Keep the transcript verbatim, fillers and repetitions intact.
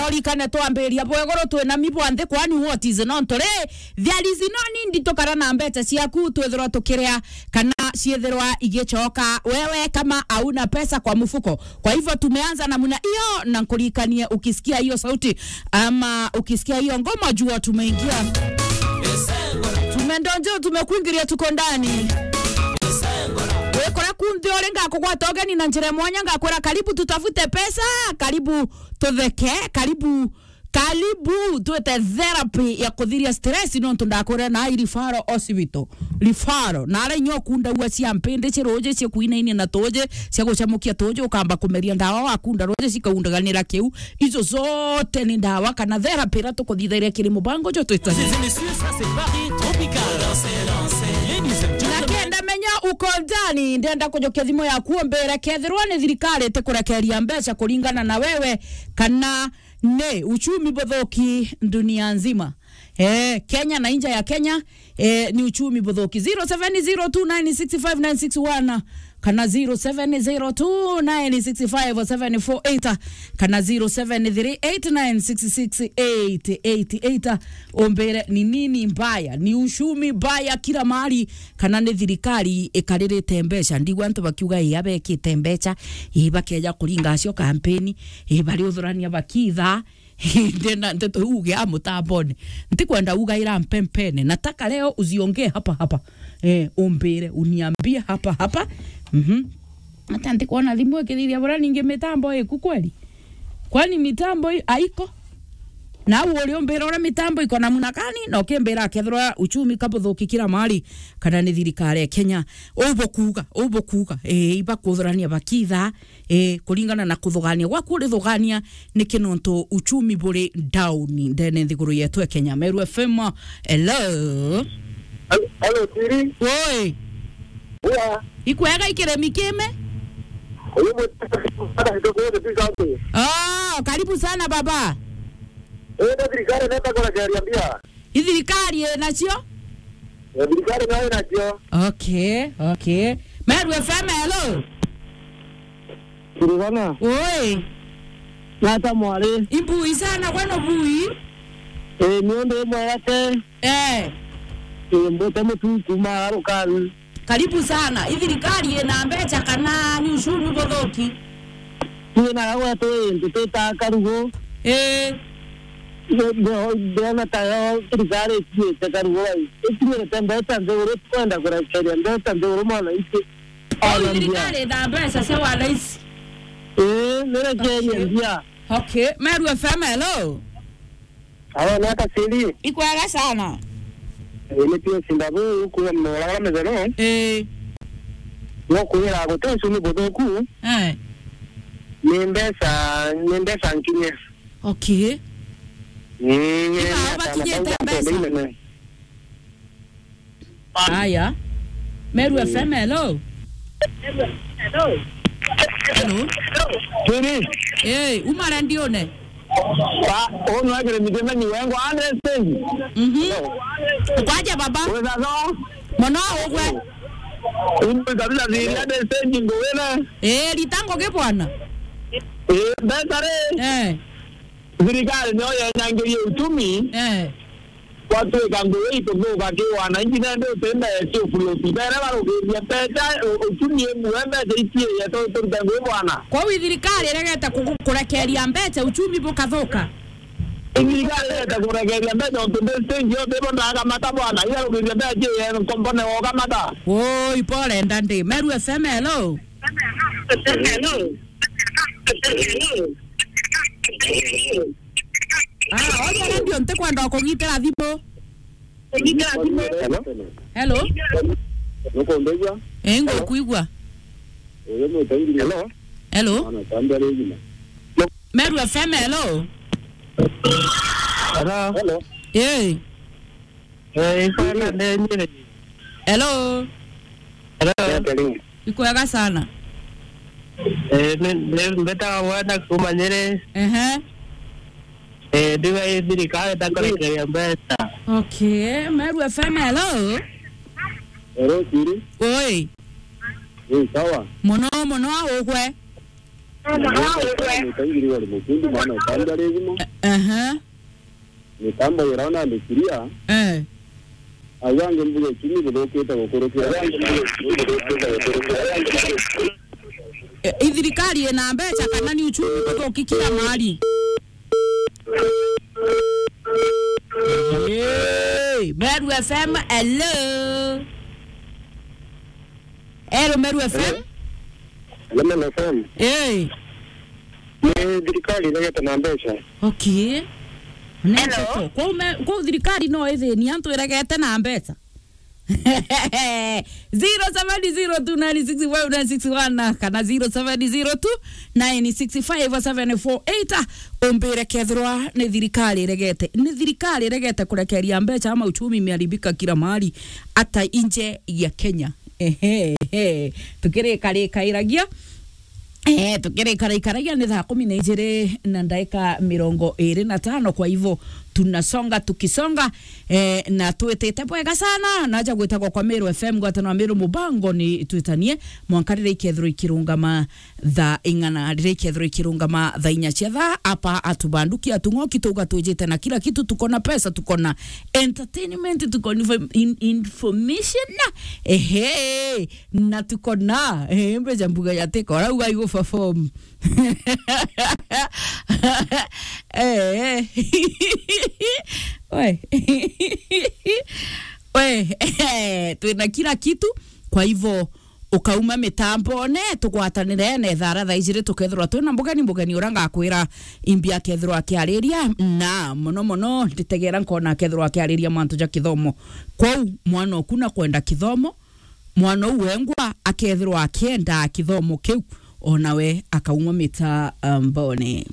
Urikane twambiria bwa iguru twina mi bwa nthi, kwani what is not ri? There is no need tukara na mbeca ciaku twithirwa tukiria kana ciithirwa igicoka. Wewe kama hauna pesa kwa mfuko. Kwa hivyo tumeanza namna hiyo, na nkurikanie, ukisikia hiyo sauti ama ukisikia hiyo ngoma, jua tumeingia. Tumendonjo, tumekuingiria, tuko ndani. Wikora kunthi uri, ngakugwata ugeni na njira ya mwanya, ngakwira, "Karibu tutafute pesa, karibu tutheke, karibu, karibu twite therapy ya kuthiria stress," nontu ndakwira na i referral hospital. Referral. Na ara inya ukundagua cia mpindi, cia ruuji, cia kuinainia na tuuji, cia gucamukia tuuji, ukamba kumeria ndawa, wakunda ruuji, cikaundaganira kiu. Icio zote ni ndawa kana therapy iria tukuthithagia kiri mubango jo twita. Na kenda menya uko ndani, ndenda kujukia thimu yaku umbire kethirwa ni thirikari itikurekeria mbeca kuringana na wewe, kana ni uchumi buthuki dunia nzima. Eh, Kenya na nja ya Kenya, eh, ni uchumi buthuki. Zero seven zero two nine six five nine six one kana zero seven zero two nine six five seven four eight kana zero seven three eight nine six six eight eight eight. Umbire ni nini mbaya, ni uchumi mbaya kila mahali, kana ni thirikari ikaririte mbeca? Ndigua antu bakiuga, "Ii, abekite mbeca, ii, bakeja kuringa acio kampeni, ii, bari uthurania bakitha." Ndena nteto iu ugia mutambone. Ntikwenda ugaira mpempene. Nataka leo uziongee hapa hapa. Eh, umbire, uniambie hapa hapa. Mhm. Hata ntikwona thimu ikithithia bura ningi mitambo iku kweli? Kwani mitambo i-, haiko? Na u uri umbira uria mitambo iko namna gani, na ukimbira akethirwa uchumi kabuthuki kila mahali, kana ni thirikari ya Kenya. Ubukuga, ubukuga. Eh, ibakuthurania bakitha. Eh, kuringana na kuthugania gwaku, urithugania niki? Nontu uchumi buri down ndene nthiguru yetu ya Kenya. Meru F M, hello. Hello, hello, Siri. Woi. Ua. Ikwega ikiremi kime? Uyu mwe-, hata kidogo yote tu safi. Oh, karibu sana baba. Eh, ndio thirikari inaweza kurekeria mbia. I thirikari inacio? Eh, thirikari nayo inacio. Okay, okay. Meru F M, hello. Kurugana. Oi. Nata mwari. Imbui sana, kweno bui? Eh, ni undu imwe yake. Eh. Eh, mbute mutu kuma Arukani. Karibu sana. I thirikari ina mbeca kana ni uchumi buthuki? Twina gwetu intu twita karugu. Eh. Ndio, ndio, ndiona ta yo thirikari itinyite karugu bai. Itinyite mbeca nthiguru, tukwenda kurekeria mbeca nthiguru mwananchi. Au thirikari ina mbeca cia wananchi? Eh, nirekerie mbia. Okay. Meru F M, hello. Alo, ni ata Siri? Ikwega sana. Ii, ni Pius Ndabu, kuuma Muragara Methero. Ii. Gukwira guti uchumi buthuku. Eh. Ni mbeca, ni mbeca nkinye. Okay. Ii, ni ata bakinyite mbeca? Aya. Meru F M, hello. Hello. Siri. Eh, uma rendione. Ba, ono agere mitema ni wengo hundred stage. Mhm. Kwaje baba? Wega no? Mono ugwe. Unu kabisa thiri hundred stage ngowena. Eh, ritango ke bwana. Eh, mbeca ri. Eh. Thirikari niyo yenyangirie uchumi. Eh. Gwatuika ngugi ikuthuka ki wananchi, nende uti mbeca cio float. Bere barukirie mbeca, u-, uchumi imwe mbeca itie yetu turute ngugi bwana. Kwou thirikari iregete ku-, kurekeria mbeca, uchumi bukathuka. Thirikari iregete kurekeria mbeca, untu mbeca ingi yote ibo ndakamata bwana, igarukirie mbeca cie nkombone wokamata. Woi, pole ndandi. Meru F M, hello. Hello. Ah, oria radio ntikwenda kugitira thimu. Hello? Hello? Nukundeigua? Eh, ngukwigua. Uyu ni Tairi. Hello? Hello? Mwana, tambe ari gima. Meru F M, hello? Hello? Hello? Eh. Eh, ikwega ndenyire. Hello. Hello. Ndenyire. Ikwega sana. Eh, ni, ni, mbetaga Bwana kuuma Nyeri. Ehe. Eh, ndiga ii thirikari itakurekeria mbeca. Okay, Meru F M, hello. Hello, Siri. Oi. Eh, sawa. Mono, mono, augwe. Nikaingiri wari mutundu mwana ukambia riguma. Aha. Nikamba wira ona ndikiria. Eh. Ayange mbuga chini buthukite gukurukia. Eh, ithirikari ina mbeca kana ni uchumi buthuki kila mahali? Hey, Meru F M, hello. Hello, Meru F M. Hello, Meru F M. Hey. Ni thirikari iregete na mbeca. Okay. Hello. Kwa ume, kwa thirikari no ithini antu iregete na mbeca. Zero seven zero two nine six five nine six one na kana zero seven zero two nine six five seven four eight. Umbire kethirwa ni thirikari iregete, ni thirikari iregete kurekeria mbeca ama uchumi imeharibika kila mahali, hata nje ya Kenya. Ehe, ehe. Tukirikarikairagia. Eh, tukirikarikaragia ni thaa kumi na ijiri na ndaika mirongo iri na tano, kwa hivyo tunasonga tukisonga, eh, na twitite bwega sana. Naja gwitagwa kwa Meru F M, ngwataniro ya Meru Mubango ni Twitanie, mwanka riria ikethirwa ikirungama thaa ing'ana, riria ikethirwa ikirungama thaa inya cia thaa, apa atubanduki atung'oki tuga twijite na kila kitu, tuko na pesa, tuko na entertainment, tuko na info-, in-, information, ehe, na tuko na, eh, mbeca mbuga ya tiko, rauga igu perform. Eh. We. We, twina kila kitu, kwa hivyo ukauma mitambone, tugwatanire na ithara thaa ijiri tukethirwa twina mugeni, mugeni uria ngakwira imbi akethirwa akiariria, na muno muno nditegera nkona akethirwa akiariria mantu ja kithomo. Kwou mwana oku na kwenda kithomo, mwana uu wengwa akethirwa akienda kithomo kiu, onawe akauma mitambone.